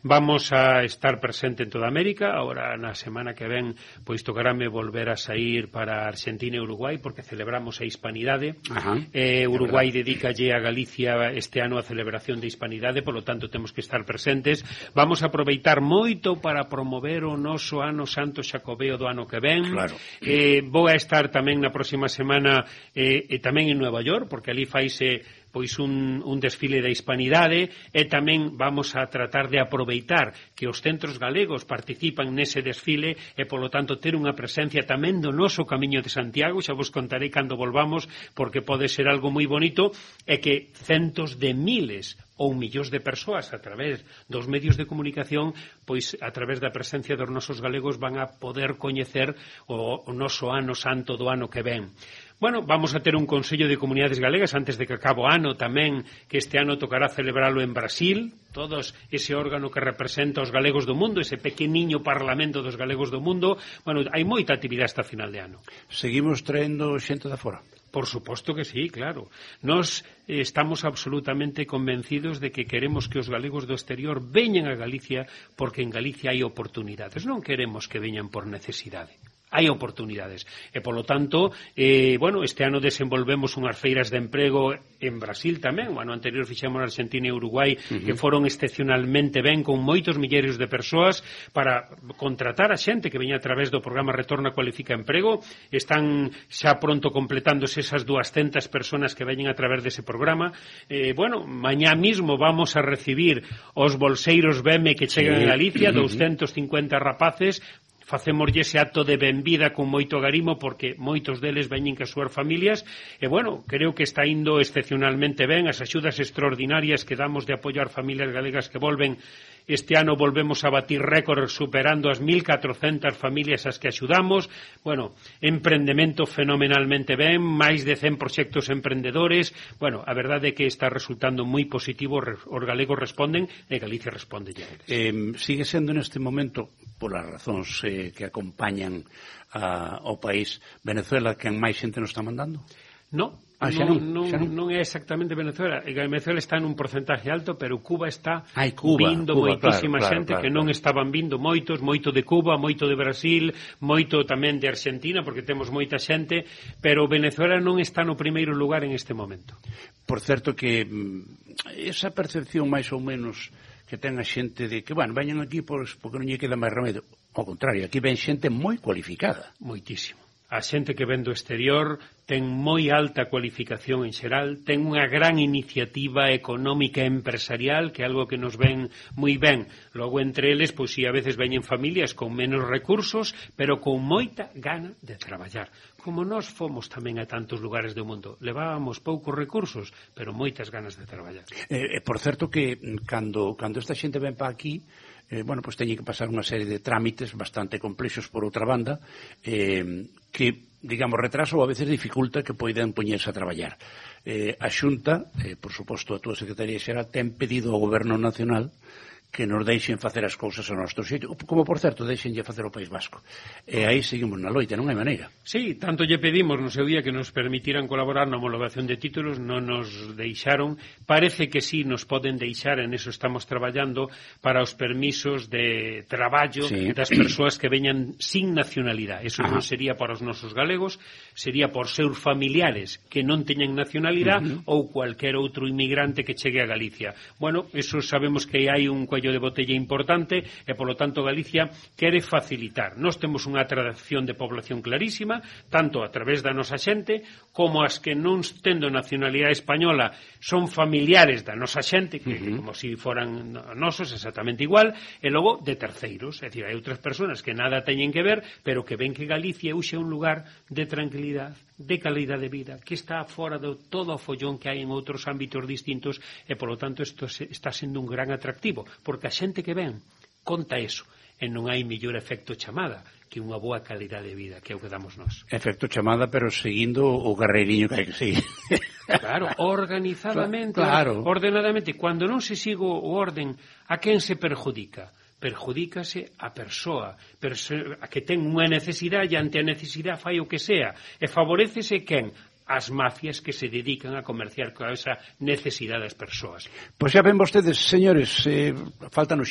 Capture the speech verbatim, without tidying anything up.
Vamos a estar presente en toda América. Ahora na semana que ven pois tocarame volver a sair para Argentina e Uruguai porque celebramos a Hispanidade. Ajá, eh, Uruguai dedícalle a Galicia este ano a celebración de Hispanidade, polo tanto temos que estar presentes. Vamos a aproveitar moito para promover o noso ano santo xacobeo do ano que ven. Claro. eh, Vou a estar tamén na próxima semana eh, e tamén en Nueva York, porque ali faise pois un, un desfile da Hispanidade, e tamén vamos a tratar de aproveitar que os centros galegos participan nese desfile e, polo tanto, ter unha presencia tamén do noso Camiño de Santiago. Xa vos contarei cando volvamos, porque pode ser algo moi bonito, e que centos de miles ou millóns de persoas a través dos medios de comunicación, pois a través da presencia dos nosos galegos van a poder coñecer o, o noso ano santo do ano que ven. Bueno, vamos a ter un Consello de Comunidades Galegas antes de que acabe o ano tamén, que este ano tocará celebralo en Brasil, todos ese órgano que representa os galegos do mundo, ese pequeniño parlamento dos galegos do mundo. Bueno, hai moita actividade hasta final de ano. Seguimos traendo xente da fora? Por suposto que sí, claro. Nos eh, estamos absolutamente convencidos de que queremos que os galegos do exterior veñan a Galicia porque en Galicia hai oportunidades. Non queremos que veñan por necesidade. Hai oportunidades. E, polo tanto, eh, bueno, este ano desenvolvemos unhas feiras de emprego en Brasil tamén. O ano anterior fixemos na Argentina e Uruguai, uh-huh. que foron excepcionalmente ben, con moitos milleiros de persoas para contratar a xente que veña a través do programa Retorna Cualifica Emprego. Están xa pronto completándose esas duascentas personas que veñen a través dese programa. Eh, bueno, mañá mismo vamos a recibir os bolseiros B E M que chegan sí. a Galicia, uh-huh. doscientos cincuenta rapaces. Facemoslle ese acto de benvida con moito garimo porque moitos deles veñen que as súas familias e, bueno, creo que está indo excepcionalmente ben. As axudas extraordinarias que damos de apoio ás familias galegas que volven. Este ano volvemos a batir récord superando as mil catrocentas familias as que axudamos. Bueno, emprendemento fenomenalmente ben, máis de cen proxectos emprendedores. Bueno, a verdade é que está resultando moi positivo, os galegos responden e Galicia responde ya. Eh, sigue sendo neste momento, polas razóns eh, que acompañan a, ao país, Venezuela quen máis xente nos está mandando? No, ah, non, non, non, non é exactamente Venezuela. Venezuela está nun porcentaje alto, pero Cuba está Ay, Cuba, vindo Cuba, moitísima claro, xente claro, que claro, non claro. estaban vindo moitos, moito de Cuba, moito de Brasil, moito tamén de Argentina, porque temos moita xente, pero Venezuela non está no primeiro lugar en este momento. Por certo que esa percepción máis ou menos que ten a xente de que, bueno, veñan aquí pois, porque non lle queda máis remedio. Ao contrario, aquí ven xente moi cualificada. Moitísimo. A xente que ven do exterior ten moi alta cualificación en xeral, ten unha gran iniciativa económica e empresarial, que é algo que nos ven moi ben. Logo, entre eles, pois si a veces veñen familias con menos recursos, pero con moita gana de traballar. Como nós fomos tamén a tantos lugares do mundo. Levábamos poucos recursos, pero moitas ganas de traballar. Eh, por certo que cando, cando esta xente ven pa aquí, eh, bueno, pois teñen que pasar unha serie de trámites bastante complexos por outra banda, eh, que, digamos, retraso ou a veces dificulta que poidan poñerse a traballar. Eh, a Xunta, eh, por suposto a túa Secretaría Xeral, ten pedido ao Goberno Nacional que nos deixen facer as cousas ao noso xeito, como, por certo, deixenlle facer o País Vasco. E aí seguimos na loita, non hai maneira. Sí, tanto lle pedimos no seu día que nos permitiran colaborar na homologación de títulos, non nos deixaron. Parece que sí nos poden deixar, en eso estamos traballando, para os permisos de traballo sí. das persoas que veñan sin nacionalidade. Eso Ajá. non sería para os nosos galegos, sería por seus familiares que non teñen nacionalidade uh-huh. ou cualquer outro inmigrante que chegue a Galicia. Bueno, eso sabemos que hai un cuello de botella importante e, polo tanto, Galicia quere facilitar. Nós temos unha atracción de población clarísima, tanto a través da nosa xente, como as que non tendo nacionalidade española son familiares da nosa xente, que uh-huh. como se si foran nosos, exactamente igual, e logo de terceiros, é dicir, hai outras persoas que nada teñen que ver, pero que ven que Galicia é un lugar de tranquilidade, de calidade de vida, que está fora de todo o follón que hai en outros ámbitos distintos e, polo tanto, isto está sendo un gran atractivo, porque a xente que ven conta eso, e non hai mellor efecto chamada que unha boa calidade de vida, que é o que damos nós. Efecto chamada, pero seguindo o carreiriño que hai que seguir. Claro, organizadamente, claro. ordenadamente. Cando non se sigo o orden, a quen se perjudica? Perjudícase a persoa, perso a que ten unha necesidade e ante a necesidade fai o que sea. E favorecese quen? as mafias que se dedican a comerciar con esa necesidade das persoas. Pois xa ven vostedes, señores, eh, faltan